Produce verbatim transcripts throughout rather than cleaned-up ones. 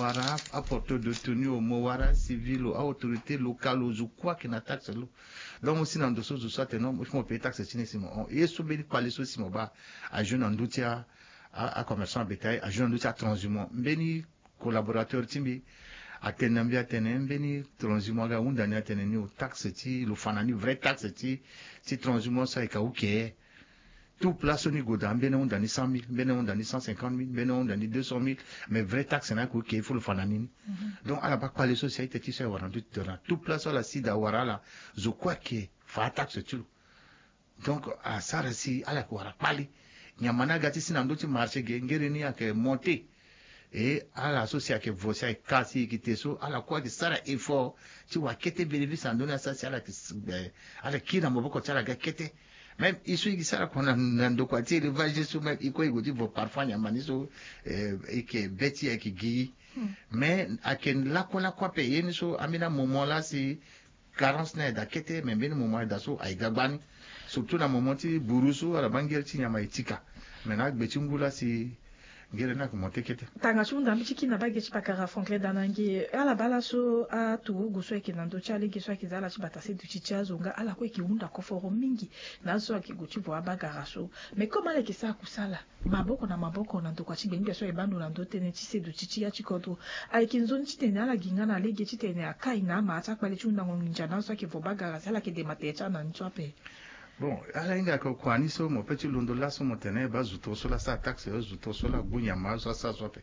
wara aporteur de tenue o, mo wara acivil o, aautorité locale o, zo kue ayeke na taxe lo. Donc mo si na ndo so zo so atene non, il faut mo paye taxe ti ni si mo hon. Ye so mbeni kpale so si mo baa ajoue na ndö ti a, a, acommerçant bétail, ajoue na ndö ti atranshumant. Mbeni collaborateur ti mbi atene na mbi atene mbeni transhumant aga ahunda ni atene ni o, taxe ti lo fa na ni, vrai taxe ti, ti transhumant so ayeke aoke. Tout place so ni gue daa, mbeni ahunda ni cent mille, mbeni ahunda ni cent cinquante mille, mbeni ahunda ni deux cent mille. Mais vrai taxe ni ayeke oke, il faut lo fa na ni ni. Donc ala baa kpale so si a-ita ti so aye wara na ndö ti tene. Tout place so ala si daa wara ala, zo kue ayeke fa ataxe ti lo. Donc asara si ala yeke wara kpale. Nyama ni aga ti si na ndö ti marché ge, ngere ni ayeke monté. E ala so si ayeke vo si ayeke ka si e yeke te so, ala kue ayeke sara effort ti wara kete bénéfice na ndö ni, asara si ala yeke s-, eh, ala yeke kiri na maboko ti ala ga kete. Même e so e yeke sara kua na, na ndokua ti élevage so, même e kue e gue ti vo parfois nyama ni so, eh, e yeke be ti e ayeke gi. Mais ayeke lakue lakue ape, ye ni so ambeni amoment laa si carence ni aye daa kete, mais mbeni moment aye daa so aye ga gbani. Surtout na moment ti buru so, ala baa ngere ti nyama e tika. Mais na agbe ti ngu laa si ngere ni ayeke monté kete. Tanga ti hunda mbi ti kiri na bage ti pakara Franklin Danange, ala baa laso aturugu so ayeke na ndö ti alege so ayeke za ala ti bata seduti ti azo nga, ala kue ayeke hunda koforo mingi na azo so ayeke gue ti vo abagara so. Mais comme ala yeke sara kusala maboko na maboko na ndokua ti gbengbe so aye baa ndo na ndö tënë ti seduti ti ya ti kodro, ayeke nzoni titene ala gi nga na lege titene akai na ama ti akpale ti hundango nginza na azo so ayeke vo bagara si ala yeke dema tere ti ala na ni so ape. Bon, ala hinga yeke kua ni so mo peut ti londo laso mo tene e baa zo toro so laa asara taxe, zo toro so laa agbu nyama, azo asara so ape.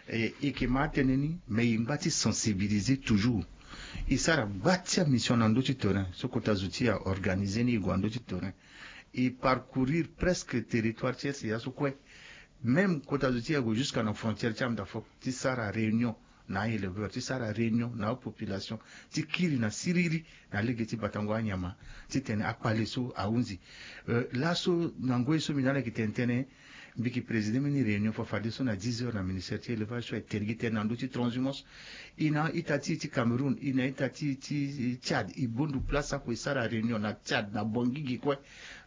E, e yeke ma atënë ni, mais e ngba ti sensibiliser toujours. E sara gba ti amission na ndö ti terrain so kota zo ti e aorganiser ni, e gue na ndö ti terrain. E parcourir presque territoire ti E S ya so kue. Même kota zo ti e ague jusqu'à na frontière ti Amdafok ti sara réunion na a-éleveur, ti sara réunion na apopulation, ti kiri na siriri na lege ti batango anyama, titene akpale so ahunzi. Euh, laso na ngoi so mbi na ala yeke tene tënë, mbi yeke présider mbeni réunion fafadeso na dix heures na ministère ti élevage so aye tene gi tënë na ndö ti transhumance. E na a-ita ti e ti Cameroun, e na a-ita ti e ti Tchad, e bondu place ako e sara réunion na Tchad, na Bangui gi kue.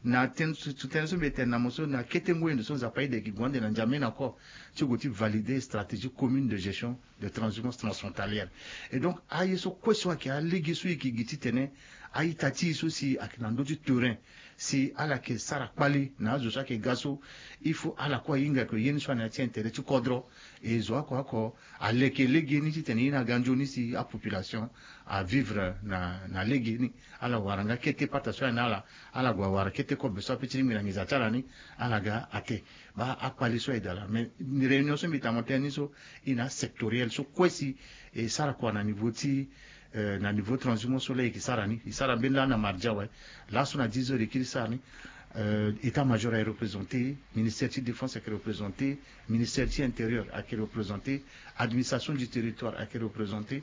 Na tënë so, tënë so mbi tene na mo so, na kete ngoi ndo so Nzapa aye daa e yeke gue ande na N'Djamena encore ti gue ti valider stratégie commune de gestion de transhumance transfrontalière. Et donc aye so kue so ayeke alege so e yeke gi titene a-ita ti e so si ayeke na ndö ti terrain, si ala yeke sara kpale na azo so ayeke ga so, il faut ala kue ahinga yeke ye ni so ane ya ti intérêt ti kodro. E zo oko oko aleke lege ni titene ye ni aga nzoni si apopulation avivre na, na lege ni. Ala wara nga kete pata so aye na ala, ala gue awara kete kobe so ape ti lingbi na nginza ti ala ni, ala ga ate. Baa akpale so aye daa laa. Mais réunion so mbi ta mo tënë ni so, e na asectoriel so kue si e sara kua na niveau ti, euh, na niveau transhumance so laa e yeke sara ni. E sara mbeni laa na mardi awe. Laso na dix heures e kiri sara ni. Euh, état-major aye représenté, ministère ti défense ayeke représenté, ministère ti intérieur ayeke représenté, administration du territoire ayeke représenté,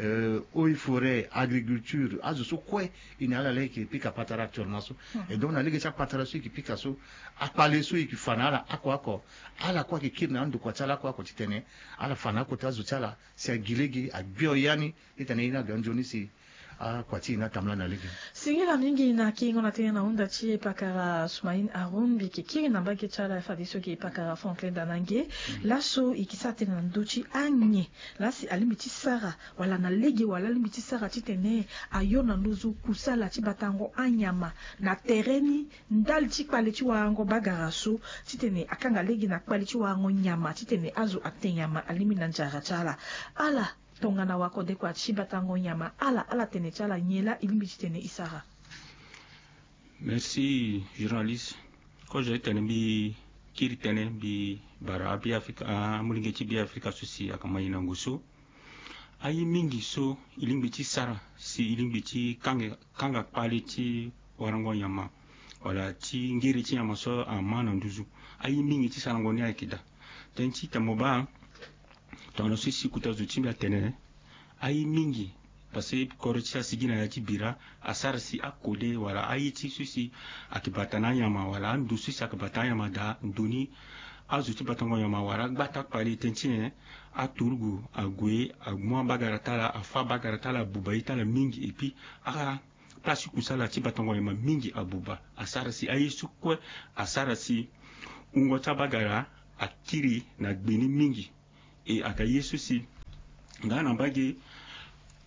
euh, eaux et forêts, agriculture, azo so kue e na ala laa e yeke pika patara actuellement so. Et donc na lege ti apatara so e yeke pika so, akpale so e yeke fa na ala oko oko, ala kue ayeke kiri na andokua ti ala oko oko titene ala fa na akota azo ti ala si agi lege, agbio ya ni, titene ye ni aga nzoni si akua ti e ni atambula na lege. Singila mingi na kiringo na tënë na hunda ti e pakara Soumaïn Haroun. Mbi yeke kiri na mbage ti ala fadeso ge pakara Franklin Danange. Laso e yeke sara tënë na ndö ti anyen laa si alingbi ti sara wala na lege wala alingbi ti sara titene ayo na nduzu kusala ti batango anyama na tere ni ndali ti kpale ti warango bagara so, titene akanga lege na kpale ti warango nyama titene azo ate nyama alingbi na nzara ti ala. Ala tongana wakodekua ti batango nyama, ala, ala tene ti ala nyen laa e lingbi titene e sara? Merci journaliste. Kozo ti tene mbi kiri tënë, mbi bara aBeafrika, amolenge ti Beafrika so si ayeke ma e na ngu so. Aye mingi so e lingbi ti sara si e lingbi ti kanga, kanga kpale ti warango nyama wala ti ngere ti nyama so ama na nduzu. Aye mingi ti sarango ni ayeke daa. Tënë ti tene mo baa tongana so si kota zo ti mbi atene aye mingi. Parce que kodro ti asigi na ya ti bira asara si akode wala aye ti so si ayeke bata na anyama wala ando so si ayeke bata na anyama daa ndo ni. Azo ti batango nyama wala agbata kpale tënë ti nyen? Aturugu ague amu abagara ti ala, afâ abagara ti ala, abuba ye ti ala mingi. Et puis a place ti kusala ti batango nyama mingi abuba, asara si aye so kue asara si wungo ti abagara akiri na gbe ni mingi. E ayeke aye so si Nga na mbage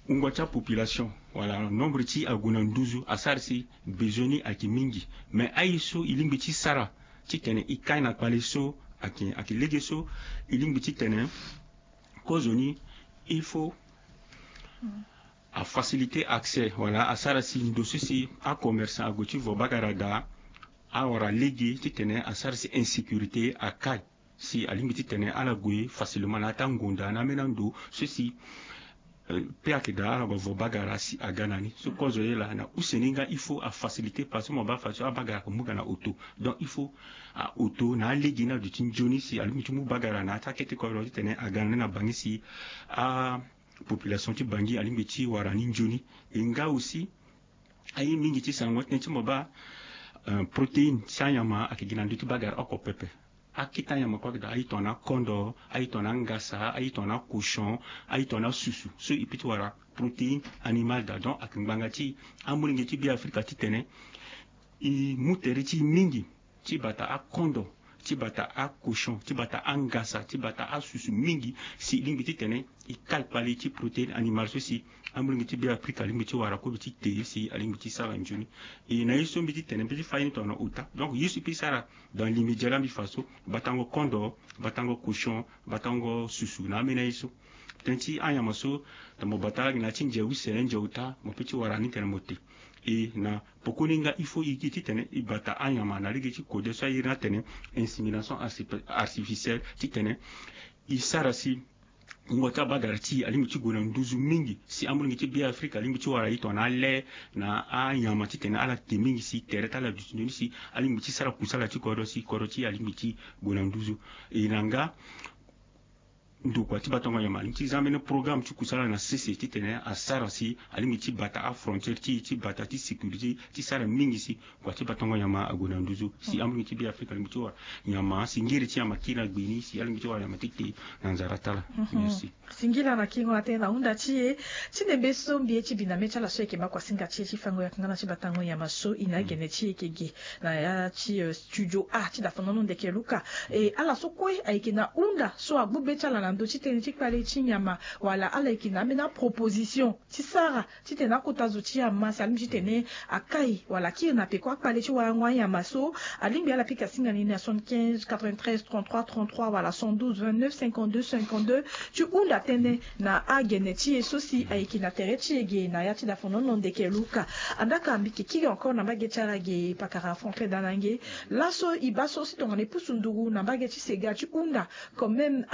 wungo ti apopulation wala nombre ti ague na nduzu asara si besoin ni ayeke mingi. Mais aye so e lingbi ti sara titene e kai na kpale so ayeke ayeke lege so e lingbi titene kozoni il faut afaciliter accès wala asara si ndo so si acommerçant ague ti vo bagara daa awara lege titene asara si insécurité akai. Si alingbi titene ala gue facilement na ata ngonda na ambeni ando so si pe ayeke daa ala gue avo bagara si aga na ni so kozo ye laa na use ni nga il faut afaciliter parce que mo baa façon abagara ayeke mu ga na auto. Donc il faut auto na alege ni aduti nzoni si alingbi ti mu bagara na ata kete kodro titene aga na ni na bangi si apopulation ti bangi alingbi ti wara ni nzoni. E nga aussi aye mingi ti sarango tënë ti mo baa protéine ti anyama ayeke gi na ndö ti bagara oko pepe. Akete anyama kue ayeke daa aye tongana kondo, aye tongana ngasa, aye tongana cochon, aye tongana susu so e peut ti wara protéine animale daa. Donc ayeke ngbanga ti amolenge ti be afrika titene e mu tere ti e mingi ti bata akondo, ti bata acochon, ti bata angasa, ti bata asusu mingi si e lingbi titene e kai kpale ti protéine animale so si amolenge ti be afrika alingbi ti wara kobe ti te si alingbi ti sara nzoni. E na ye so mbi ti tene mbi ti fa ye ni tongana ota. Donc ye so e peut ti sara dans l'immédiat la mbi fa so batango kondo, batango cochon, batango susu na ambeni aye so. Tënë ti anyama so tongana mo bata ala gi na ya ti nze use nze ota mo peut ti wara ni tene mo te. E na pokoni nga il faut e gi titene e bata anyama na lege ti kode so aye ni atene insémination artificielle titene e sara si wungo ti abagara ti e alingbi ti gue na nduzu mingi si amolenge ti be afrika alingbi ti wara e tongana ale na anyama titene ala te mingi si tere ti ala duti nzoni si alingbi ti sara kusala ti kodro si kodro ti e alingbi ti gue na nduzu. E na nga ndokua ti batango nyama alingbi ti za ambeni programme ti kusala na sese titene asara si alingbi ti bata afrontière ti e ti bata ti sécurité ti sara mingi si kua ti batango nyama ague na nduzu si amolenge ti be afrika alingbi ti wara nyama si ngere ti nyama kiri na gbe ni si alingbi ti wara nyama ti te na nzara ti ala. Merci. Singila na kingo na tënë na hunda ti e. Ti nembe so mbi ye ti bi na mê ti ala so ayeke ma kua singa ti e ti fango yaka nga na ti batango nyama so e na agene ti e yeke ge na ya ti studio a ti dafonono ndeke luka. E ala so kue ayeke na hunda so agbu be ti ala na ndö ti tënë ti kpale ti nyama wala ala yeke na ambeni aproposition ti sara titene akota zo ti ama si alingbi titene akai wala akiri na peko akpale ti warango anyama so alingbi ala pika singa ni na soixante-quinze quatre-vingt-treize trente-trois trente-trois wala cent douze vingt-neuf cinquante-deux cinquante-deux. Ti hunda tënë na agene ti e so si ayeke na tere ti e ge na ya ti dafonono ndeke luka. Andaka mbi ke kiri encore na mbage ti ala ge pakara frantre danange. Laso e baa so si tongana e pusu nduru na mbage ti sega ti hunda quand même.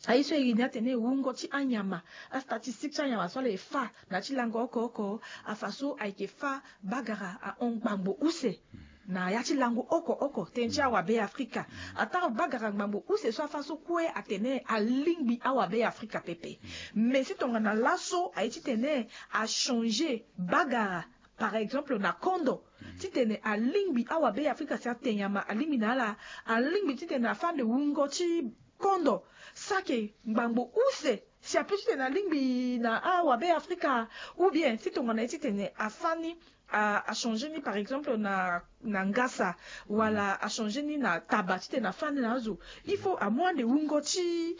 Aye so e iri ni atene wungo ti anyama, astatistique ti anyama so ala e fa na ya ti lango oko oko afa so ayeke fa bagara ahon ngbangbo use na ya ti lango oko oko tënë ti awabe afrika. Ataa bagara ngbangbo use so afa so kue atene alingbi awabe afrika pepe. Mais si tongana laso aye titene achanger bagara par exemple na kondo titene alingbi awabe afrika si ate nyama alingbi na ala alingbi titene afa nde wungo ti kondo sake ngbangbo use si ape titene alingbi na awabe afrika. Ou bien si tongana ye titene afa ni achanger ni par exemple na na ngasa wala achanger ni na taba titene afa ni na azo. Il faut amu ande wungo ti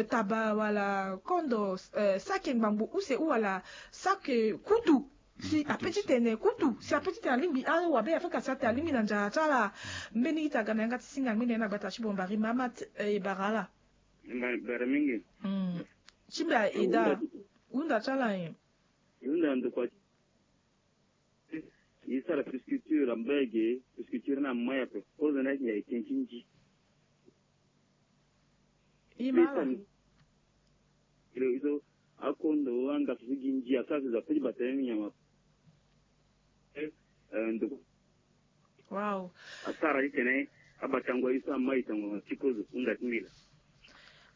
taba wala kondo sake ngbangbo use ou wala sake kutu. Si ape titene kutu si ape titene alingbi awabe afrika si ate alingbi na nzara ti ala. Mbeni ita ga na yanga ti singa ngbene na gbata ti bombari mamat e bara ala. Bara mingi. Ti mbi aye daa hunda ti ala nyen? Hunda ndokua ti e sara pisculture ambege pisculture ni amai ape. Kozo ni ayeke nyen? Ayeke tënë ti nzi. E ma ala. Ilo iso akondo angasa ti gi nzi asara si zo ape ti bata ni nyama. Ndokua. Wow. Asara titene abatango ye so amai tango ti kozo hunda ti mbi laa.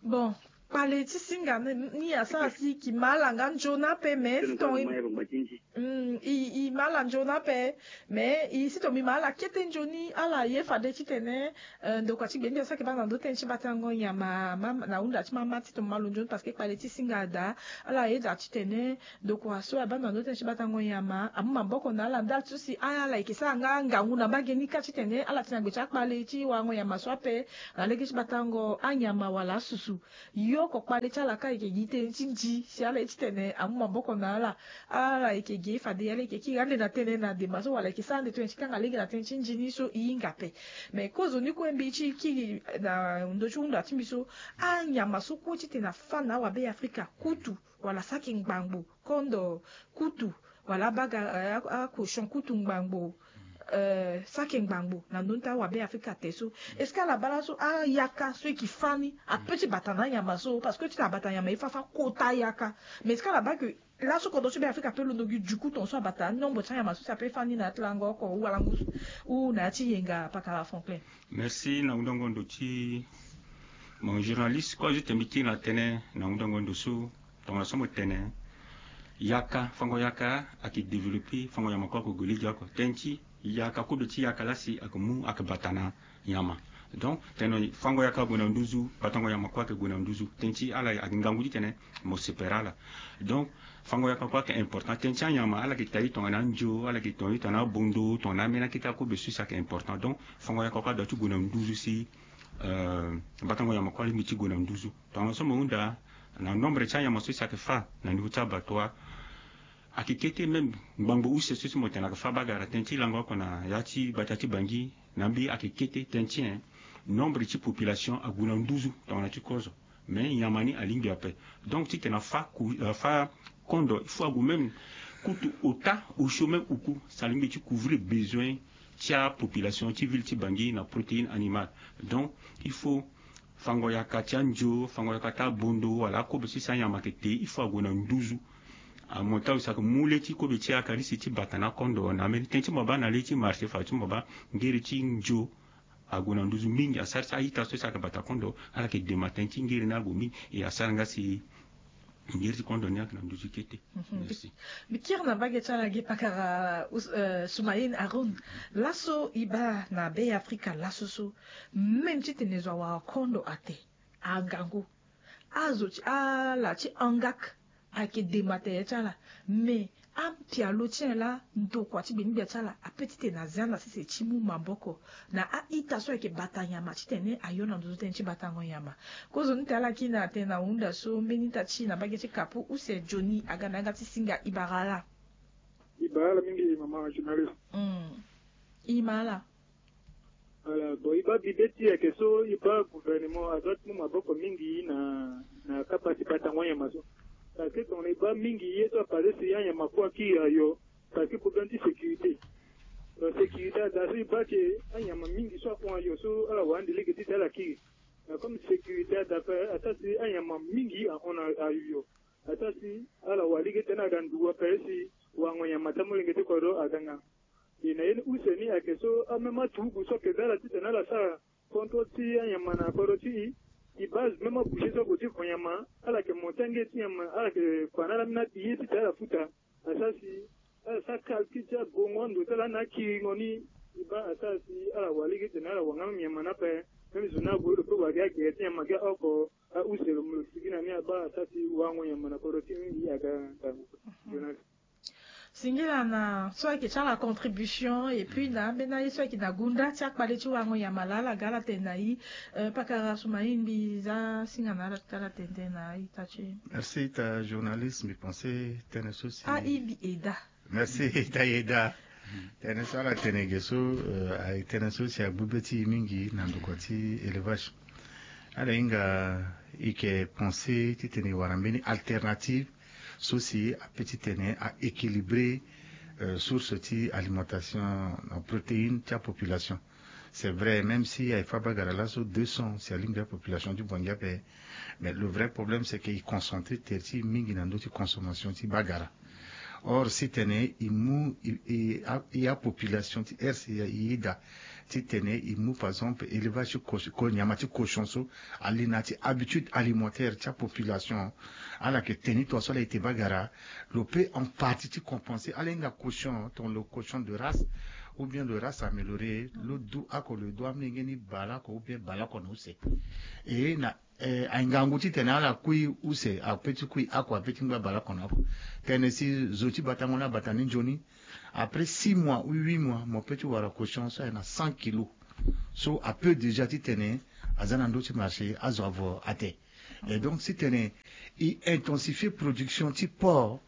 Bon, kpale ti singa ni asara si e ki ma ala nga nzoni ape mais si tonga e ma ala nzoni ape. Mais e si tonga mbi ma ala kete nzoni ala ye fade titene ndokua ti gbe ni asara ke baa na ndö tënë ti batango nyama na hunda ti mama ti tonga ma lo nzoni parce que kpale ti singa daa. Ala ye daa titene ndokua so abaa na ndö tënë ti batango nyama amu maboko na ala ndali ti so si ala yeke sara nga ngangu na mbage ni kâ titene ala ti na gbe ti akpale ti warango nyama so ape na lege ti batango anyama wala asusu. Yo Oko kpale ti ala ka eke gi tënë ti nzi si ala ye titene amu maboko na ala. Ala eke gi fade ala eke kiri ande na tënë na dema so wala eke sara ande tënë ti kanga lege na tënë ti nzi ni so e hinga ape. Me kozo ni kue mbi ti kiri na ndö ti hunda ti mbi so, anyama so kue titene afa na awabe afrika kutu wala saki ngbangbo kondo kutu wala abaga akochon kutu ngbangbo sake ngbangbo na ndö ni ti awabe afrika te so. Est-ce que ala baa laso ayaka so e ke fa ni ape ti bata na anyama so? Parce que ti na bata nyama e fa fa kota ayaka. Mais est-ce que ala baa ke laso kodro ti be afrika ape londo gi du coup ton so abata anombre ti anyama so si ape fa ni na ya ti lango oko ou alango ou na ya ti yenga pakara franklin? Merci na wundango ndo ti mon journaliste kue azo tene mbi kiri na tënë na wundango ndo so. Tongana so mo tene yaka fango yaka ayeke développer fango nyama kue ayeke gue lege oko tënë ti yaka kobe ti yaka lasi ayeke mu ayeke bata na nyama. Donc tene fango yaka ague na nduzu batango nyama kue ayeke gue na nduzu tënë ti ala ayeke ngangu titene mo sepere ala. Donc fango yaka kue ayeke important tënë ti anyama ala yeke tayi tongana anzo ala yeke tayi tongana abondo tongana ameni akete akobe so si ayeke important donc fango yaka kue adua ti gue na nduzu si batango nyama kue alingbi ti gue na nduzu. Tongana so mo hunda na nombre ti anyama so si ayeke fa na niveau ti abattoir ayeke kete même ngbangbo use so si mo tene ayeke fa bagara tënë ti lango oko na ya ti gbata ti bangi na mbi ayeke kete tënë ti nombre ti population ague na nduzu tongana ti kozo. Mais nyama ni alingbi ape. Donc titene afa kondo il faut ague même kutu ota osio même uku si alingbi ti couvrir besoin ti apopulation ti ville ti bangi na protéine animale. Donc il faut fango yaka ti anzo fango yaka ti abondo wala akobe so si anyama ayeke te il faut ague na nduzu. Amonta aussi ayeke mu le ti kobe ti akarisi ti bata na kondo na ambeni tënë ti mo baa na le ti marché fa ti mo baa ngeri ti nzo ague na nduzu mingi asara ti a-ita so si ayeke bata kondo ala yeke dema tënë ti ngeri ni ague mingi e asara nga si ngeri ti kondo ni ayeke na nduzu kete. Merci. Mbi kiri na mbage ti ala ge pakara Soumaïn Haroun. Laso e baa na be afrika laso so même titene zo awara kondo ate angangu azo ti ala ti angak ayeke dema tere ti ala. Mais apialo ti nyen laa ndokua ti gbenigbia ti ala ape titene azia na sese ti mu maboko na a-ita so ayeke bata nyama titene ayo na nduzu tënë ti batango nyama. Kozoni te ala kiri na atene na hunda so mbeni ita ti na mbage ti kapu use joni aga na yanga ti singa e bara ala. E bara ala mingi mama journaliste. E ma ala. Voilà, bon e baa bibe ti ayeke so e baa gouvernement adoit ti mu maboko mingi na na kapa ti batango anyama so. Parce que tongana e baa mingi ye so apase si anyama kue akiri ayo. Parce que problème ti sécurité. Donc sécurité ada so e baa ke anyama mingi so ahon ayo so ala wara ande lege ti si ala kiri. Na comme sécurité ada ape asara si anyama mingi ahon na ayo. Asara si ala wara lege ti tene aga ndugu ape si wango nyama ti amolenge ti kodro aga nga. E na ye ni use ni ayeke so ameme aturugu so ayeke za ala titene ala sara contrôle ti anyama na kodro ti e. E base même aboucher so ague ti ko nyama ala yeke monte ange ti nyama ala yeke fa na ala mena ye titene ala futa. Asara si ala sara calcul ti agongo ando ti ala na akiringo ni. E baa asara si ala wara lege titene ala wara nga même nyama ni ape. Même zo ni ague lo pe wara gi agere ti nyama gi aoko. Ause lo mo lo sigi na ni abaa asara si wango nyama na kodro ti e mingi aga ngangu. Singila na so ayeke ti ala contribution et puis na ambeni aye so ayeke na gunda ti akpale ti wango nyama laa ala ga ala tene na e. Pakara suma e mbi za singa na ala ti ala tene tënë na a-ita ti e. Merci ita journaliste mbi pense tënë so si a e mbi eda. Merci ita e eda. Tënë so ala tene ge so aye tënë so si agbu be ti e mingi na ndokua ti élevage. Ala hinga e yeke pense titene e wara mbeni alternative so si ape titene a équilibrer source ti alimentation na protéine ti apopulation. C'est vrai même si aye fa bagara laso deux cents si alingbi apopulation ti bongi ape. Mais le vrai problème c'est que e concentre tere ti e mingi na ndö ti consommation ti bagara. Or si tene e mu e apopulation ti r c e ida titene e mu par exemple élevage ti nyama ti cochon so ali na ya ti habitude alimentaire ti apopulation. Ala yeke tene ni tongaso ala ete bagara. Lo pe en partie ti compenser ala hinga cochon ton lo cochon de race ou bien de race améliorée lo du ako lo du amolenge ni baleoko ou bien baleoko na use. E na aye ngangu titene ala kui use ape ti kui ako ape ti ngba baleoko na oko. Tënë si zo ti batango ni abata ni nzoni. Après six mois ou huit mois mo pe ti wara cochon so aye na cent kilos. So ape déjà titene aza na ndö ti marché azo avo ate. Et donc si tene i intensifie production ti porc,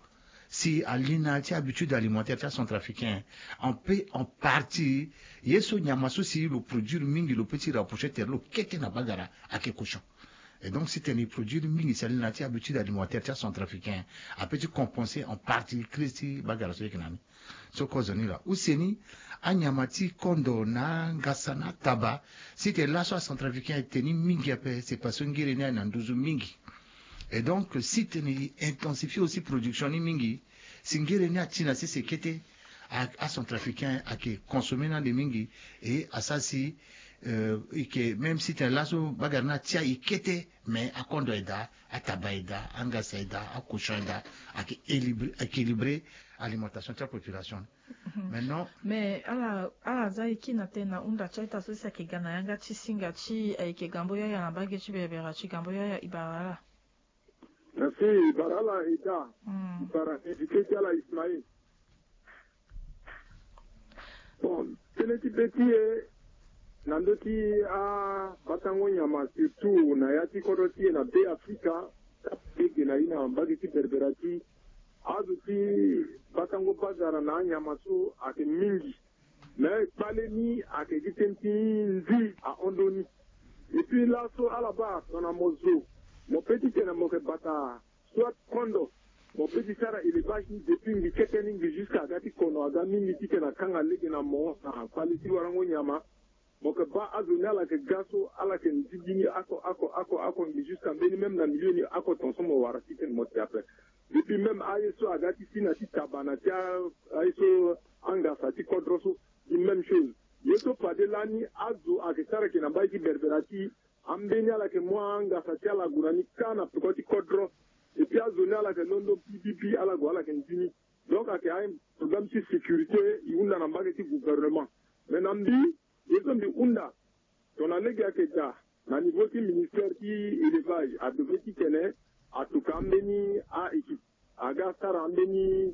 si ali na ya ti habitude alimentaire ti acentrafricain, en pe en partie ye so nyama so si lo produire mingi lo pe ti rapprocher tere lo kete na bagara ayeke cochon. Et donc si tene i produire mingi si ali na ya ti habitude alimentaire ti acentrafricain, ape ti compenser en partie crise ti bagara so ayeke na ni. So kozo ni laa use ni anyama ti kondo na angasa na ataba. Si tene laso acentrafricain ayeke teni mingi ape c'est parce que ngere ni ayeke na nduzu mingi. Et donc si tene i intensifie aussi production ni mingi, si ngere ni ati na sese kete, acentrafricain ayeke consommer ni ande mingi. Et asara si i yeke même si tene laso bagara ni atia i kete, mais akondo aye daa, ataba aye daa, angasa aye daa, akochon aye daa. Ayeke équilibre alimentation ti apopulation. Maintenant mais ala ala za e kiri na tënë na hunda ti a-ita so si ayeke ga na yanga ti singa ti e, ayeke gambo yaya na mbage ti berebere ti gambo yaya e bara ala. Merci. E bara ala e daa. E bara invité ti ala Ismaïl. Bon, tënë ti be ti e na ndö ti abatango nyama surtout na ya ti kodro ti e na be Afrika, lege na ye na mbage ti berebere ti azo ti batango bagara na anyama so ayeke mingi. Me kpale ni ayeke gi tënë ti nzi ahon ndö ni. Epui laso ala baa tongana mo zo mo pe titene mo yeke bata soit kondo, mo pe ti sara élevage ni depuis ngi kete ni ngi jusque aga ti kono aga mingi titene akanga lege na mo na kpale ti warango nyama. Mo yeke baa azo ni ala yeke ga so ala yeke nzigi ni oko oko oko oko ngi jusque mbeni même na milieu ni oko ton so mo wara titene mo te ape. Depuis même aye so aga ti si na ti taba na ti aye so angasa ti kodro so, di même chose. Ye so fade lani azo ayeke sara yeke na mbage ti berbera ti ambeni ala yeke mu angasa ti ala gue na ni kâ na peko ti kodro. Epui azo ni ala yeke londo bibibi ala gue ala yeke nzi ni. Donc ayeke aproblème ti sécurité e hunda na mbage ti gouvernement. Mais na mbi ye so mbi hunda tongana lege ayeke daa na niveau ti ministère ti élevage adevrait titene atuka ambeni a-équipe aga sara ambeni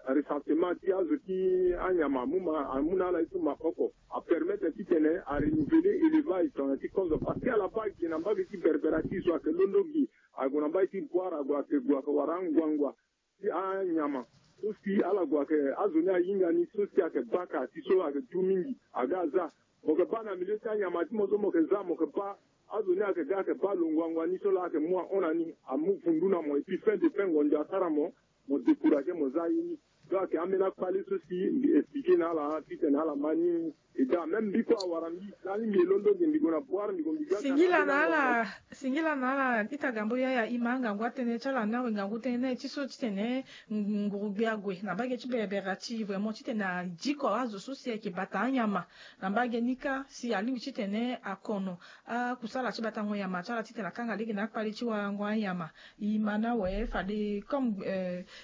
recensement ti azo ti anyama amu na ala ye so maboko apermettre titene arenouveler élevage tongana ti kozo parce que ala baa gi na mbage ti berbera ti zo ayeke londo gi ague na mbage ti boire ague ayeke gue ayeke wara anguangua ti anyama so si ala gue ayeke azo ni ahinga ni so si ayeke baka ti so ayeke du mingi aga aza. Mo yeke baa na milieu ti anyama ti mo so mo yeke za mo yeke baa azo ni ayeke ga ayeke baa lo nguangua ni so laa ayeke mu ahon na ni amu vundu na mo epui fin de fin ngonzo asara mo mo décourage mo za ye ni. Donc ayeke ambeni akpale so si mbi expliquer na ala titene ala ma ni. E daa même mbi kue awara mbi lani mbi ye londo ge mbi gue na boire mbi gue mbi ga singila na ala singila na ala ita gambo yaya e ma angangu atënë ti ala ni awe ngangu tënë ti so titene nguru gbe ague na mbage ti berebere ti vraiment titene adiko azo so si ayeke bata anyama na mbage ni kâ si alingbi titene akono akusala ti batango nyama ti ala titene akanga lege na akpale ti warango anyama. E ma na awe fade comme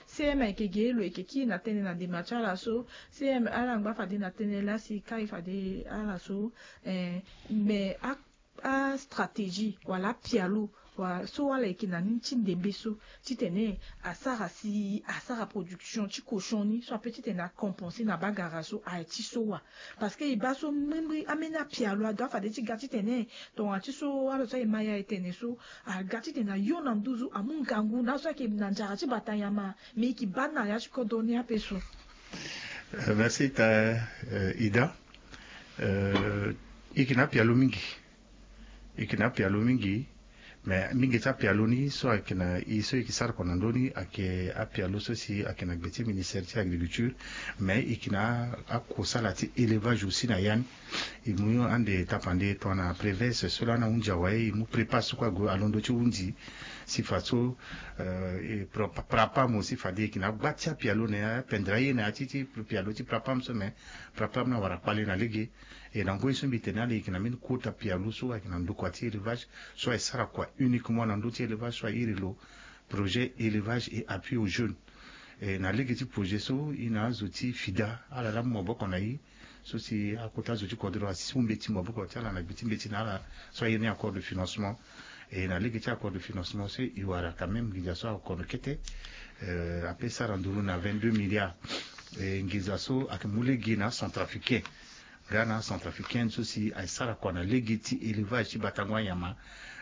cm ayeke ge lo yeke kiri na tënë na ndema ti ala so cm ala ngba fade na tënë laa si kai fade ala so. Mais astratégie wala apialo wala so ala yeke na ni ti ndembe so titene asara si asara production ti cochon ni so ape titene acompenser na bagara so aye ti so wa. Parce que e baa so mbri mbri ambeni apialo ado afade ti ga titene tongana ti so ala so aye ma ya e tene so aga titene ayo na nduzu amu ngangu na ala so ayeke na nzara ti bata nyama. Mais e yeke baa ni na ya ti kodro ni ape so. Merci ita ida. E yeke na apialo mingi. E yeke na apialo mingi. Mais mingi ti apialo ni so ayeke na e so e yeke sara kua na ndö ni ayeke apialo so si ayeke na gbe ti ministère ti agriculture. Mais e yeke na akusala ti élevage aussi na ya ni. E mu ande tapande tongana prevese so lani ahunzi awe e mu prépa so kue ague alondo ti hunzi si fa so e prapa mo si fade e yeke na agba ti apialo na ya apendre aye na ya ti ti pialo ti prapa mo so mais prapa mo ni awara kpale na lege. E na ngoi so mbi tene ala e yeke na mbeni kota pialo so ayeke na ndokua ti élevage so aye sara kua uniquement na ndö ti élevage so aye iri lo projet élevage et appui aux jeunes. E na lege ti projet so e na azo ti fida ala laa mu maboko na e so si akota azo ti kodro asi mu mbeti maboko ti ala na gbe ti mbeti na ala so aye ni accord de financement. E na lege ti accord de financement so e wara quand même nginza so akono kete ape sara nduru na vingt-deux milliards. E nginza so ayeke mu lege na acentrafricain nga na acentrafricaine so si aye sara kua na lege ti élevage ti batango anyama.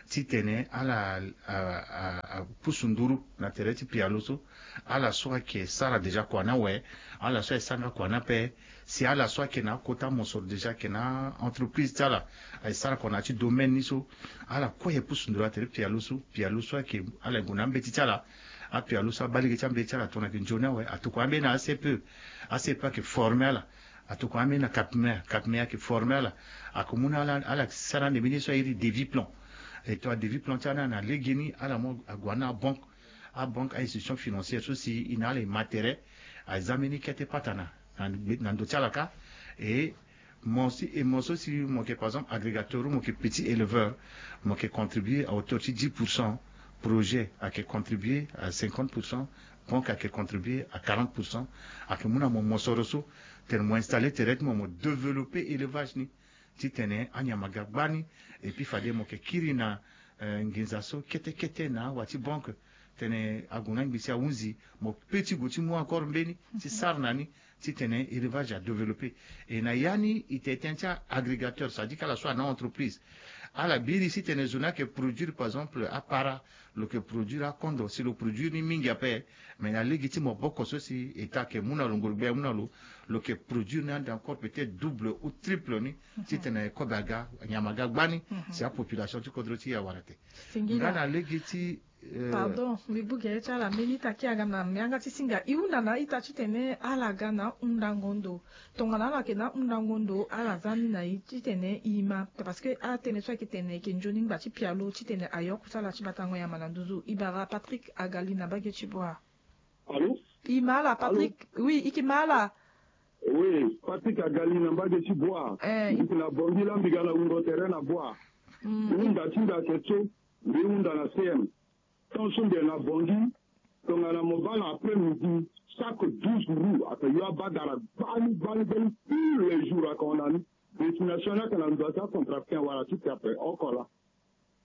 Titene ala a, a, a pusu nduru na tere ti pialo so. Ala so ayeke sara déjà kua ni awe. Ala so aye sara nga kua ni ape. Si ala so ayeke na akota mosoro déjà ayeke na entreprise ti ala, aye sara kua na ya ti domaine ni so, ala kue aye pusu nduru na tere ti pialo so. Pialo so ayeke, ala gue na ambeti ti ala. Apialo so abaa lege ti ambeti ti ala tongana ayeke nzoni awe, atokua ambeni na A C P E. A C P E ayeke forme ala. Atokua ambeni na Capmer. Capmer ayeke forme ala. Ayeke mu na ala, ala sara ande mbeni ye so a iri devis plan. E tongana devis plan ti ala ni na legeni, ala mu ague na abanque. Abanque, a-institution financière so si e na ala e ma tere. Aza mbeni kete patana na, na ndo ti ala kâ. E mo si, e mo so si mo yeke, par exemple, agrégateur ou mo yeke petit éleveur, mo yeke contribuer à hauteur ti dix pour cent. Projet ayeke contribuer à cinquante pour cent. Banque ayeke contribuer à quarante pour cent. Ayeke mu na mo mosoro so tene mo installer tere ti mo, mo développer élevage ni, titene anyama aga gbani. Et puis fade mo yeke kiri na, eh, nginza so kete kete na awa ti banque, tene ague na angbi si ahunzi, mo pe ti gue ti mu encore mbeni ti sara na ni, titene élevage a développer. Et na ya ni, e tene tënë ti agrégateur, c'est-à-dire que ala so ana entreprise, ala biri si tene zo ni ayeke produire, par exemple, apara, lo yeke produire akondo, si lo produire ni mingi ape. Mais na lege ti maboko so si État ayeke mu na lo, nguru gbia amu na lo, lo yeke produire ni ande encore peut-être double ou triple ni, titene kobe aga, nyama aga gbani, si apopulation ti kodro ti e awara te. Singila. Nga na lege ti, eh, pardon, mbi bû gere ti ala mbeni ita ti aga na yanga ti singa. E hunda na ita titene ala ga na hundango ndo. Tongana ala yeke na hundango ndo, ala za ni na e titene e ma. Parce que atënë so ayeke tene e yeke nzoni ngba ti pialo titene ayok so ala ti batango nyama na nduzu. E bara Patrick Agali na mbage ti Boa. Allô? E ma ala, Patrick. Allô? Oui, e yeke ma ala. Oui, Patrick Agali na mbage ti Boa. Eh. Mbi yeke na Bangui la, mbi ga na wungo tere na Boa. Mm. Hunda ti mbi ayeke so, mbi hunda na C M. Tant so mbi yeke na Bangui, tongana mo baa na après-midi, chaque douze roues ayeke yo abagara gbani, gbani, gbani, tous les jours ayeke hon na ni. Destination ni ayeke na ndo ti acentrafricain wala ti te ape oko laa.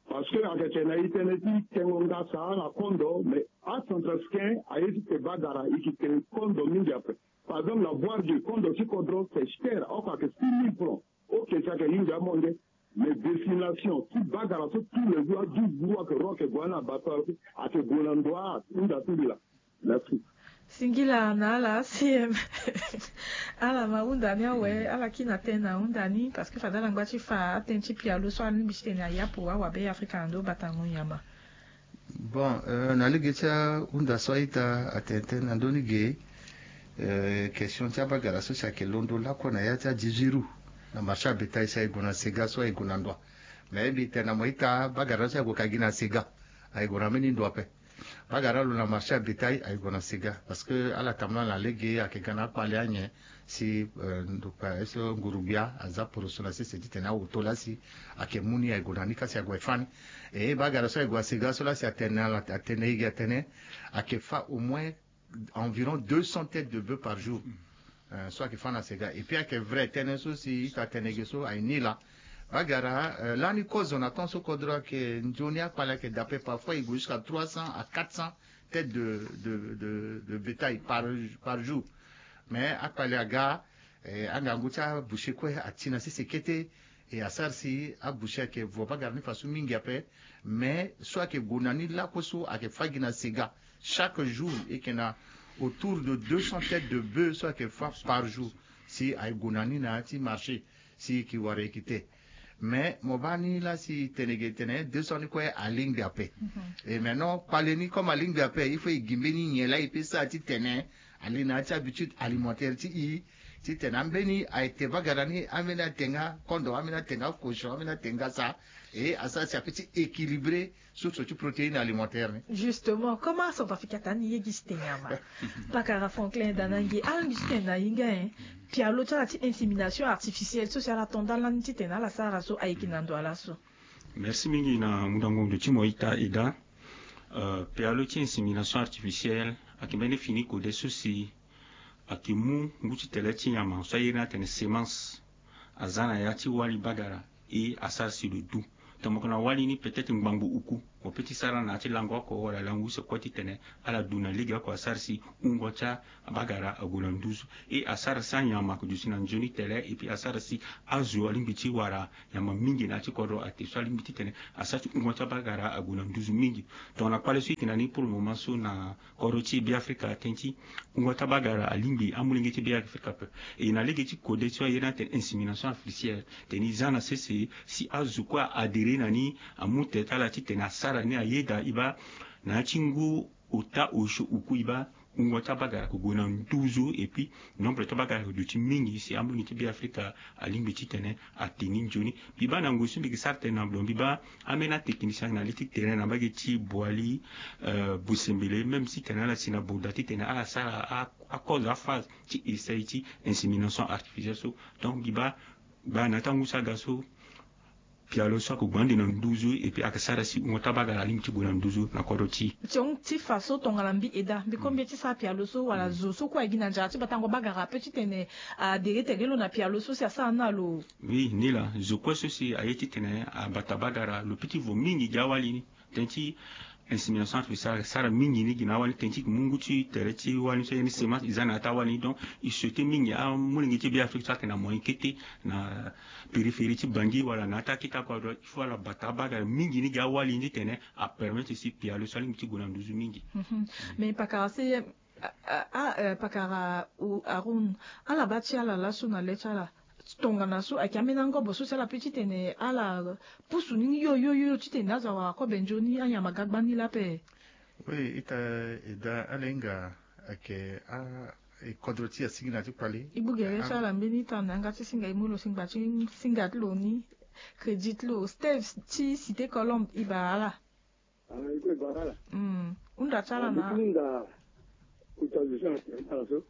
Parce que ayeke tene na e tënë ti tengo ngasa na kondo, mais acentrafricain aye ti te bagara, e yeke te kondo mingi ape. Par exemple, na Bois-Dieu, kondo ti kodro c'est cher, oko ayeke six mille francs. Ok, si ayeke hinga amonge. Mais destination ti bagara so tous les jours, a douze jours ayeke ro, ayeke gue na bato, ayeke gue na ndo, ahunda ti mbi laa. Merci. Singila na ala C M. Ala ma hunda ni awe, ala kiri na tënë na hunda ni, parce que fade ala ngba ti fa atënë ti pialo so alingbi titene a yapo awabe Afrika na ndo batango nyama. Bon, euh, na lege ti ahunda so a-ita atene tënë na ndö ni ge, euh, question ti abagara so si ayeke londo lakue na ya ti a dix-huit roues na marché ya bétail, si aye gue na Sega so aye gue na ndoa. Mais mbi tene na mo ita, bagara so aye gue ka gi na Sega, aye gue na mbeni ndo ape. Bagara lo na marché ya bétail aye gue na Sega, parce que ala tambula na lege ayeke ga na akpale anyen si, euh, ndo kpa so nguru gbia aza poroso na sese titene awoto laa si ayeke mu ni aye gue na ni ka si ague fâ ni. E bagara so aye gue na Sega so laa si atene na ala, atene na e ge atene ayeke fâ au moins environ deux cents têtes de bœuf par jour. Euh, so ayeke fâ na Sega. Et puis ayeke vrai, tënë so si ita tene ge so aye ni laa. Bagara, euh, lani kozo na temps so kodro ayeke nzoni, akpale ayeke dape, parfois e gue jusqu'à trois cents à quatre cents têtes de, de, de, de bétail par, par jour. Mais akpale aga, eh, angangu ti aboucher kue ati na sese kete. E asara si aboucher ayeke vo bagara ni faso mingi ape. Mais so ayeke gue na ni lakue so ayeke fâ gi na Sega. Chaque jour e yeke na autour de deux cents têtes de bœuf so ayeke fâ par jour. Si aye gue na ni na ya ti marché, si e yeke wara e yeke te. Mais mo baa ni laa si e tene ge tene deux cents ni kue alingbi ape. Mhm. Et maintenant kpale ni comme alingbi ape, il faut e gi mbeni nyen laa e peut sara titene ali na ya ti habitude alimentaire ti e, titene ambeni aye te bagara ni, ambeni ate nga kondo, ambeni ate nga cochon, ambeni ate nga sa. Et asara si a peut ti équilibrer source ti protéine alimentaire ni. Justement, comme acentrafricain atene ni ye gi si te nyama. Pakara Franklin Danange, alingbi titene na e nga, hein, pialo ti ala ti insémination artificielle so si ala to nda lani titene ala sara so ayeke na ndo ala so. Merci mingi na mundango ndo ti mo ita Eda. Euh, pialo ti insémination artificielle ayeke mbeni fini kode so si ayeke mu ngu ti tele ti nyama so a iri ni atene semence. Aza na ya ti wali bagara, e asara si lo du. Tongana mo yeke na wali ni peut-être ngbangbo oku. Mo pe ti sara na ya ti lango oko wala lango use kue titene ala du na lege oko asara si wungo ti abagara ague na nduzu. E asara si anyama ague duti na nzoni tene, e puis asara si azo alingbi ti wara nyama mingi na ya ti kodro ate so alingbi titene asara si wungo ti abagara ague na nduzu mingi. Tongana kpale so e yeke na ni pour le moment so na kodro ti Beafrika, tënë ti wungo ti abagara alingbi amolenge ti Beafrika ape. E na lege ti kode so aye ni atene insémination artificielle, tene e za na sese si azo kue a adhérer na ni, amu tere ti ala titene asara ni, ayeda e baa na ya ti ngu ota osio oku e baa wungo ti abagara ague na nduzu, et puis nombre ti abagara aduti mingi si amolenge ti Beafrika alingbi titene ate ni nzoni. Mbi baa na ngoi so mbi yeke sara tënë na lo, mbi baa ambeni atechnicien na li ti terrain na mbage ti Boali, euh, Bosembele, même si tene ala si na Boda titene ala sara a, akozo aphase ti essai ti insémination artificielle so. Donc mbi baa, baa na ya ti angu so aga so pialo so ayeke gue ande na nduzu, et puis ayeke sara si wungo ti abagara alingbi ti gue na nduzu na kodro ti e. Ti hon ti fa so tongana mbi eda, mbi kue mbi ye ti sara pialo so wala zo so kue ayeke gi na nzara ti batango bagara ape titene a adhérer tere lo na pialo so si asara ni na lo? Oui, ni laa, zo kue so si aye titene abata bagara, lo peut ti vo mingi gi awali ni. Tënë ti insémination artificielle asara mingi ni gi na awali ni, tënë ti e yeke mu ngu ti tere ti wali ni so aye ni semence e za na ya ti awali ni. Donc e souhaiter mingi amolenge ti Beafrika so ayeke na moyen kete na périphérie ti Bangui wala na ya ti akete akodro, il faut ala bata abagara mingi ni gi awali ni titene apermettre si pialo so alingbi ti gue na nduzu mingi. Mhm. Mais pakara si, a, a, a, euh, pakara, ou Haroun, ala baa ti ala laso na le ti ala tongana so ayeke ambeni angobo so si ala peut titene ala pusu ni yo yo yo titene azo awara kobe nzoni, anyama ga gbani lape? Oui, ita eda, ala hinga ayeke a, e kodro ti e asigi na ya ti kpale. E gbu gere ti ala mbeni ita na yanga ti singa e mu lo si ngba ti singa ti lo ni, crédit ti lo, Steve ti Cité Colombe, e baa ala. Ah, e kue e baa ala. Mm. Hunda ti ala na. Mbi ti hunda kota zo so na tere ti ala so.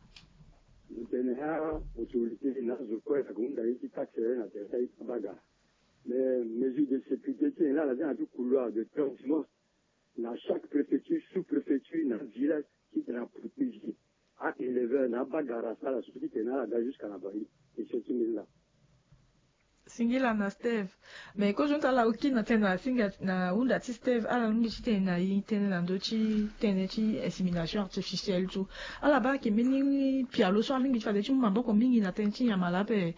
Mbi tene a autorité na azo kue ayeke hunda ye ti taxe na tere ti aye ti abagara. Mais mesure de sécurité ti tene laa na ti na ti couloir de transhumance na chaque préfecture, sous-préfecture, na village, titene aprotéger a éleveur na abagara asara so titene ala ga jusqu'à na Bangui. E so ti mbeni laa. Singila na Steve. Mais kozo ni ta ala oki na tënë na singa na hunda ti Steve, ala lingbi ti tene na e tënë na ndö ti tënë ti insémination artificielle so. Ala baa ayeke mbeni pialo so alingbi ti fade ti mu maboko mingi na tënë ti nyama laa ape.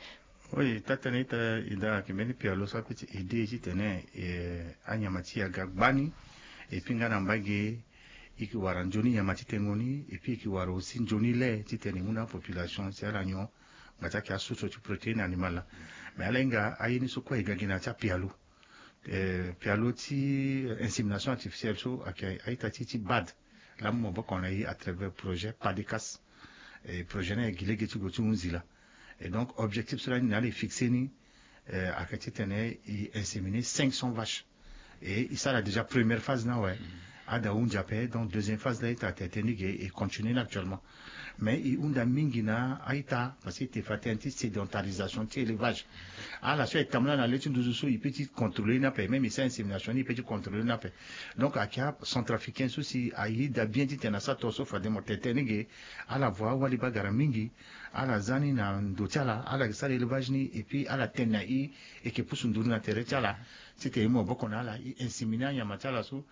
Oui, taa tënë ita eda, ayeke mbeni pialo so ape ti aider titene, eh, anyama ti e aga gbani. Et puis nga na mbage e yeke wara nzoni nyama ti tengo ni, et puis e yeke wara aussi nzoni lait titene e mu na apopulation si ala nyon, nga ti ayeke asource ti protéine animale. Mais ala hinga aye ni so kue e ga gi na ya ti apialo. Eh, pialo ti, eh, insémination artificielle so ayeke a-ita ti e ti bade. Laa amu maboko na e à travers projet PADECAS. Eh, projet ni ayeke gi lege ti gue ti hunzi laa. Et donc objectif so lani na ala e fixer ni, eh, ayeke titene e inséminer cinq cents vaches. Et e sara déjà première phase ni awe. Ada ahunzi ape, donc deuxième phase laa e tara tene tënë ni ge, e continuer ni actuellement. Mais e hunda mingi na a-ita, parce que e te fa tënë ti sédentarisation ti élevage. Ala so e tambula na le ti nduzu so e peut ti contrôler ni ape, même e sara insémination ni e peut ti contrôler ni ape. Donc ayeke acentrafricain so si ayeda bien titene asara tongaso fade mo tene tënë ni ge, ala vo awali bagara mingi, ala za ni na ndo ti ala, ala yeke sara élevage ni, et puis ala tene na e, e yeke pusu nduru na tere ti ala. Titene e mu maboko na ala, e inséminer anyama ti ala so,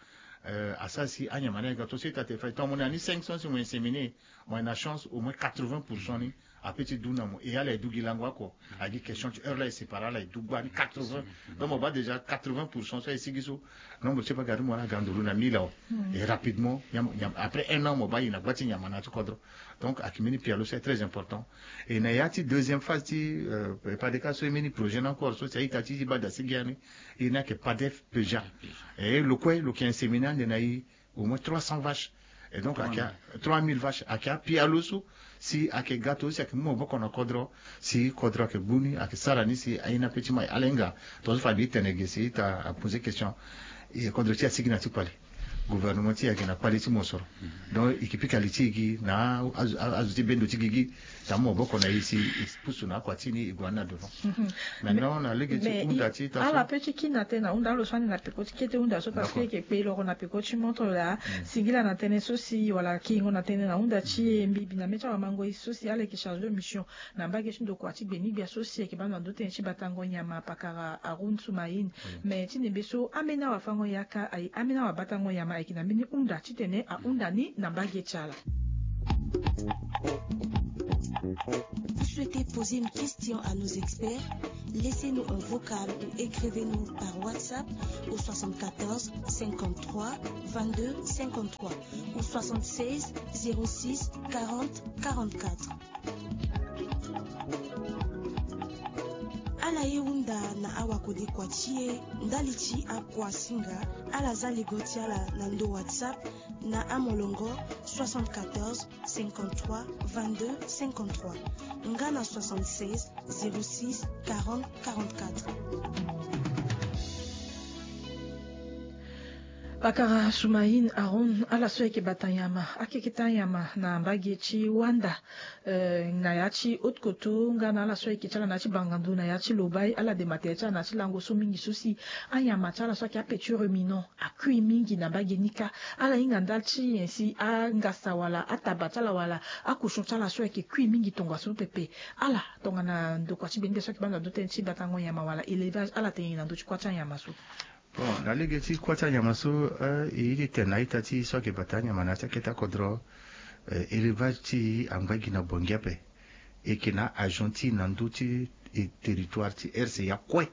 euh, asara si anyama ni aga to so e ta te fa e to mo na ni cinq cents si mo inséminer, mo na chance au moins quatre-vingts pour cent ni ape ti du na mo, e ala e du gi lango oko. Agi question ti heure laa e sépare ala e du gba ni quatre-vingts. Donc mo baa déjà quatre-vingts pour cent so e sigi so, nombre ti bagara ti mo ala ga nduru na mille awe. Et rapidement, nyam-, nyam-, après un an mo baa e na gba ti nyama na ya ti kodro. Donc ayeke mbeni pialo so est très important. Et na ya ti deuxième phase ti, euh, PADECAS so e mbeni projet ni encore so si a-ita ti e ti bade asigi ya ni, e ni ayeke PADEF PEJA. Et lo kue lo yeke inséminer ande na e au moins trois cents vaches. Et donc ayeke trois mille vaches, ayeke apialo so si ayeke ga to si ayeke mu maboko na kodro, si kodro ayeke gbu ni, ayeke sara ni si aye ni ape ti mai. Ala hinga tongaso fade e tene ge si e ta poser question, e kodro ti e asigi na ya ti kpale. gouvernement ti e ayeke na kpale ti mosoro. Donc e yeke pika li ti e gi na azo ti bendo ti gigi. Tamu maboko na e si e pusu na akua ti ni e gue na devant. Maintenant na lege ti hunda ti e ta so ala pe ti kiri na tënë na hunda alo so ande na peko ti kete hunda so parce que e yeke kpe loro na peko ti montre laa. Singila na tënë so si wala kingo na tënë na hunda ti e mbi bi na mê ti awamango e so si ala yeke chargé de mission na mbage ti ndokua ti gbeni-gbia so si e yeke baa na ndö tënë ti batango nyama pakara Haroun Soumaïn. Mais ti nembe so ambeni awafango yaka aye ambeni awabatango nyama ayeke na mbeni hunda titene ahunda ni na mbage ti ala. Vous souhaitez poser une question à nos experts? Laissez-nous un vocal ou écrivez-nous par WhatsApp au soixante-quatorze cinquante-trois vingt-deux cinquante-trois ou soixante-seize zéro six quarante quarante-quatre. Ala ye hunda na awakodekua ti e ndali ti akua singa. Ala za ligo ti ala na ndo WhatsApp na amolongo soixante-quatorze cinquante-trois vingt-deux cinquante-trois nga na soixante-seize zéro six quarante quarante-quatre. Pakara Soumaïn Haroun, ala so ayeke bata nyama akeketa nyama na mbage ti Wanda. Na ya ti Haute-Kotto nga na ala so ayeke ti ala na ya ti Bangandu na ya ti Lobaye, ala dema tere ti ala na ya ti lango so mingi so si anyama ti ala so ayeke apetit ruminant akui mingi na mbage ni kâ. Ala hinga ndali ti nyen si angasa wala ataba ti ala wala akochon ti ala so ayeke kui mingi tongaso pepe? Ala tongana ndokua ti bende so ayeke baa na ndö tënë ti batango nyama wala élevage, ala tene na ndö ti kuâ ti anyama so? Bon, na lege ti kuâ ti anyama so, e ye ti tene na a-ita ti e so ayeke bata anyama na ya ti akete akodro. Élevage ti e angba gi na Bangui ape. E yeke na agent ti e na ndö ti territoire ti R C A kue.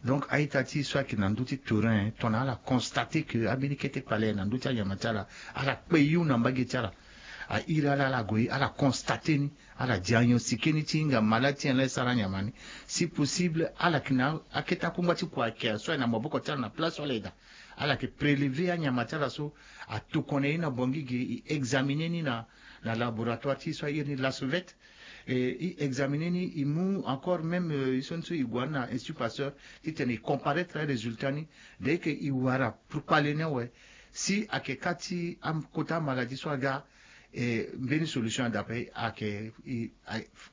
Donc a-ita ti e so ayeke na ndö ti terrain tongana ala constate ke ambeni kete kpale na ndö ti anyama ti ala, ala kpe yo na mbage ti ala. A iri ala ala gue ala constate ni, ala diagnostiquer ni ti hinga malade ti nyen laa e sara anyama ni. Si possible ala yeke na akete akungba ti kua ayeke so ayeke na maboko ti ala na place so ala yeke daa. Ala yeke prélever anyama ti ala so, atokua na e na Bangui ge, e examiner ni na na laboratoire ti e so a iri ni Lasovette. E examiner ni, e mu encore même e so ni so e gue na Institut Pasteur titene e comparaître arésultat ni. Dès que e wara pour kpale ni awe, si ayeke kâ ti akota amaladie so aga, e mbeni solution daa ape ayeke,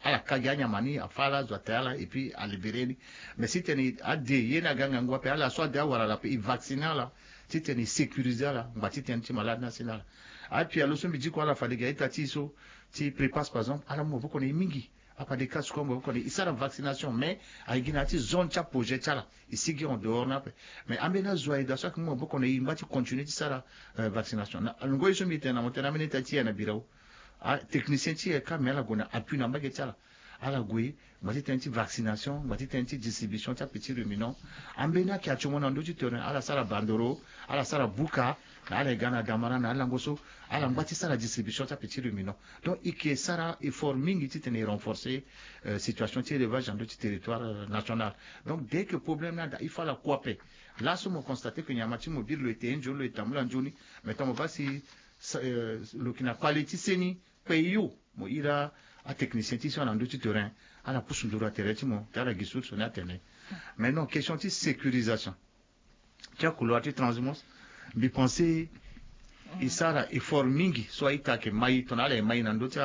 ala ka gi anyama ni, afâ ala, azo ate ala et puis alibéré ni. Mais si tene ade ye ni aga ngangu ape, ala so ade awara ala ape, e vacciner ala titene e sécuriser ala ngba ti tënë ti malade ni asi na ala. Apialo so mbi diko ala fade gi a-ita ti e so ti Prépass par exemple, ala mu maboko na e mingi. Apade ka sukua maboko na e, e sara vaccination, mais aye gi na ya ti zone ti aprojet ti ala, e sigi en dehors ni ape. Mais ambeni azo aye daa so ayeke mu maboko na e, e ngba ti continuer ti sara vaccination. Na ngoi so mbi tene na mo tene ambeni a-ita ti e aye na Birao, atechnicien ti e aye kâ, mais ala gue na appui na mbage ti ala. Ala gue ngba ti tënë ti vaccination, ngba ti tënë ti distribution ti apetit ruminant. Ambeni ayeke atio mo na ndö ti terrain, ala sara bandoro, ala sara buka, na ala ye ga na Damara na alango so, ala ngba ti sara distribution ti apetit ruminant. Donc e yeke sara effort mingi titene e renforcer situation ti élevage na ndö ti territoire national. Donc dès que problème ni ada, il faut ala kue ape. Laso mo constate que nyama ti mo biri lo ete nzoni, lo e tambula nzoni, mais tant mo baa si lo yeke na kpale ti seni, kpe yo, mo iri atechnicien ti so na ndö ti terrain, ala pusu nduru na tere ti mo ti ala gi source ni atene. Maintenant question ti sécurisation ti akouloir ti transhumance, mbi pense e sara effort mingi so a-ita ayeke mai, tongana ala ye mai na ndö ti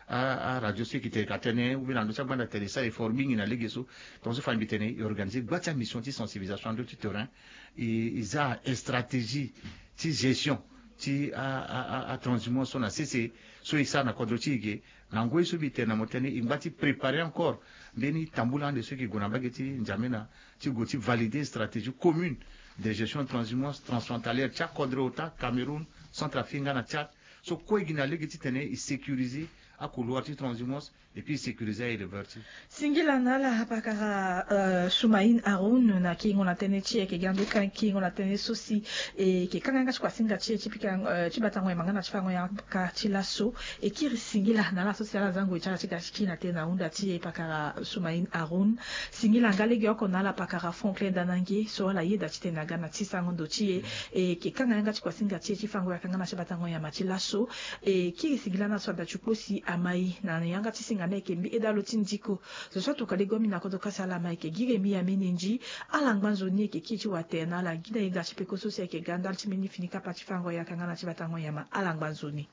aradio so e yeke tene ka tënë ou bien na ndö ti agbanda tene, e sara effort mingi na lege so. Tongaso fade mbi tene e organiser gba ti amission ti sensibilisation na ndö ti terrain. E za stratégie ti gestion ti atranshumance so na sese so e sara na kodro ti e ge. Na ngoi so mbi tene na mo tënë, e ngba ti préparer encore mbeni tambula ande so e yeke gue na mbage ti N'Djamena ti gue ti valider stratégie commune de gestion transhumance transfrontalière ti akodro ota Cameroun, Centrafrique nga na Tchad. So kue e gi na lege titene e sécuriser akouloir ti transhumance et puis e sécuriser aéleveur ti e. Singila na ala pakara Soumaïn Haroun na kingo na tënë ti e, e yeke ga ndo ka kingo na tënë so si e yeke kanga yanga ti kuasinga ti e ti pika ti batango yama nga na ti fango yaka ti laso. E kiri singila na ala so si ala za ngoi ti ala ti ga ti kiri na tënë na hunda ti e pakara Soumaïn Haroun. Singila nga legeoko na ala pakara Franklin Danange so ala yeda titene aga na ti sango ndo ti e. E yeke kanga yanga ti kuasinga ti e ti fango yaka nga na ti batango yama ti laso. E kiri singila na ala so ada ti kpo si Amai na yanga ti singa na yeke mbi edalo ti ndiko. Zo so atuka lego mbi na kodo kasa ala amai yeke giri mbi ya mene ndi. Ala ngba nzoni yeke kiri ti watere na ala gi na yeda ti peko so si yeke ga ndali ti mbeni fini kapa ti fango yaka nga na ti batango nyama ala ngba nzoni.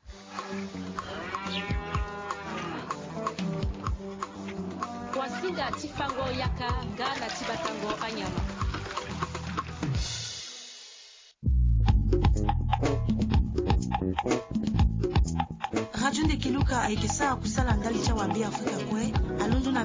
Wasinga ti fango yaka nga na ti batango anyama. Radio Ndekeluka ayeke sara kusala ndali ti awabe Afrika kue. Alondo na